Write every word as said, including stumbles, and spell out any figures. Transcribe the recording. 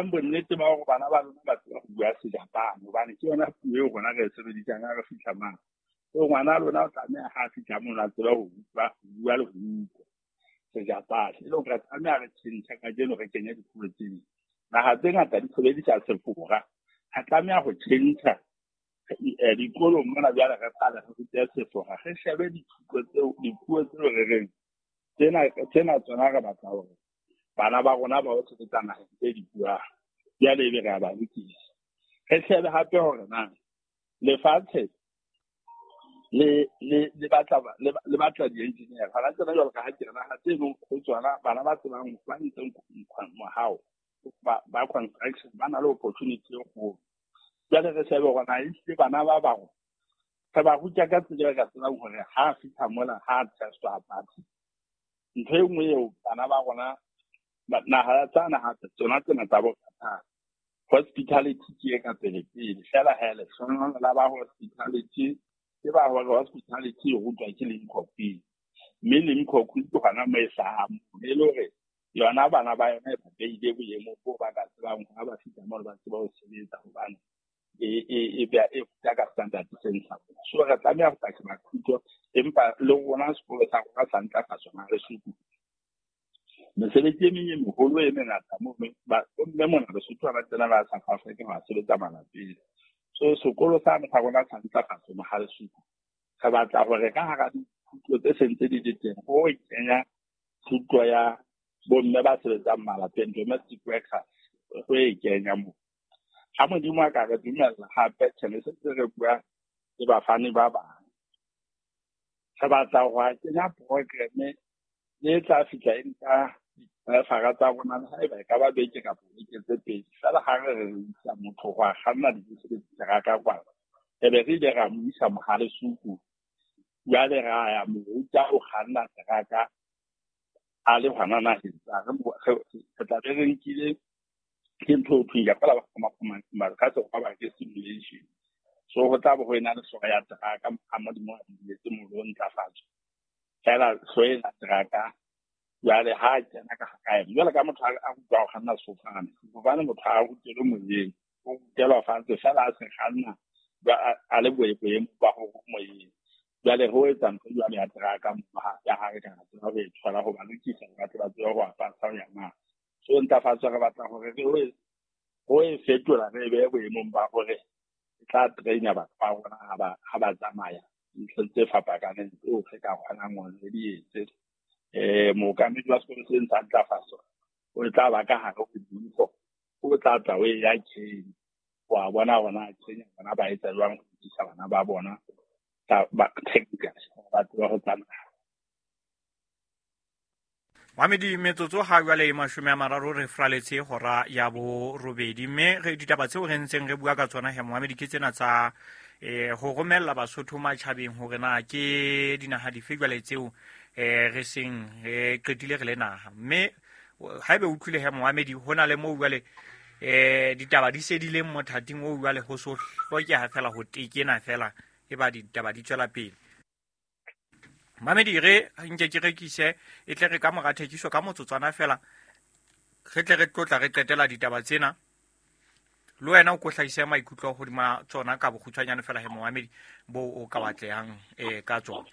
Bonnete ba hore bana ba lona ba tseba ho bua Sejapane, hobane ke yona puo eo rona re e sebedisang ha re fihla mane. So ngwana lona o tlameha ha a fihla mono a tseba ho utlwa, ho bua le ho utlwa Sejapane. E le hore re tlameha re tjhentjhe kajeno re kenye dipuo tse ding. Naha tse ngata di sebedisa Sefora. Re tlameha ho tjhentjha dikolong mona jwale re qale re rute Sefora. Re shebe dithuto tseo, dipuo tseo re reng tsena tsena tsona re batla hore bana ba rona ba ho sebetsa naheng tse di buang. Jwale ebe re a ba lokisa. Re shebe hape hore na lefatshe le le le batla le, le batla di-engineer. Hona tsena jwalo ka ha ke re naha tse leng ho tsona bana ba tsebang ba ntseng mohao ba, ba construction ba na le opportunity e kgolo. Jwale re shebe hore na ehlile bana ba bang re ba ruta ka tsela e re ka tsebang hore ha a fihla mola ha a testwa a pasa. Ntho e nngwe eo bana ba rona naha tsa naha tsona tsena tsa bo Qatar, hospitality ke e ka pele pele. Feela he lehlohonolo la ba hospitality ke ba hore hospitality e rutwa ke Limkokwing, mme Limkokwing ke hona moo e hlahang e le hore yona bana ba yona e ba behile boemong bo ba ka tsebang ha ba fihla moo ba tseba ho sebetsa, hobane e e e beha e ruta ka standard se ntlha. So re tlameha ho tla sheba thuto, empa le rona sekolo sa rona sa ntlafatso ha re suku. Mesebetsi e meng e meholo e mengata moo bomme mona Lesotho ba tsena ba South Africa ba sebetsa malapeng. So sekolo sane sa rona sa ntlafatso Mohalesuku, re batla hore ka hara dithuto tse sentse di le teng ho kenya thuto ya bomme ba sebetsang malapeng, domestic workers, ho e kenya moo. Ha Modimo a ka re dumella hape, tjhe, ne se re bua le bafani ba bang. Re batla ho kenya program e tla fihla e nka difara tsa rona le haeba e ka ba beke kapa beke tse pedi. Feela ha re re isa motho ho a kganna dibese le diteraka kwana, e be re ile ra mo isa Mohalesuku. Jwale ra ya mo ruta ho kganna teraka a le hona naheng tsa re re tla be re nkile ke ntho e thweng ya feela ba ka Sekgowa ba ke simulation. So ho tla bo ho ena le hlooho ya teraka ha Modimo a dumelletse molo o ntlafatso. Feela hlooho ena teraka jwale ha kena ka hara yona, jwale ka motho a rutwa ho kganna sefofane, sefofane motho a rutelwe moyeng, o rutelwa fatshe feela a se kganna a le boemong ba ho moyeng. Jwale ho etsa ntho jwale ya teraka ya ha re ka tseba ho e thola ho ba lokisa hore ba tle ba tsebe ho apasa ho ya mane. So ntlafatso re batla hore re ho ho e fetola re behe boemong ba hore e tla train-a batho ba rona ha ba ha ba tsamaya dintlheng tse fapakaneng tseo re ka kgonang hore re di etse. Eh mookamedi wa sekolo se sa ntlafatso o tla ba ka hare ho dintho, o tla tla o ya Kenya wa bona hore Kenya bona ba etsa jwang ho lokisa bana ba bona ba technical ba tseba ho tsamaya. Mamedi metsotso ha jwale e mashome a mararo re fraletse hora ya borobedi, mme re ditaba tseo re ntseng re bua ka tsona he Mohamedi ke tsena tsa eh ho romella Basotho matjhabeng hore na ke dinaha dife jwale tseo eh re seng re qetile re le naha. Mme haebe o utlwile he Mohamedi ho na le moo jwale eh ditaba di se di leng mothating oo jwale ho so hlokeha fela ho tekena fela e ba ditaba di tswela pele. Mamedi re nke ke rekise e tle re ka mora thekiso ka motsotswana fela re tle re tlotla re qetela ditaba tsena. Le wena o ko hlahise maikutlo hodima tsona ka bokgutshwanyane fela he Mohamedi bo o ka batlehang eh ka tsona.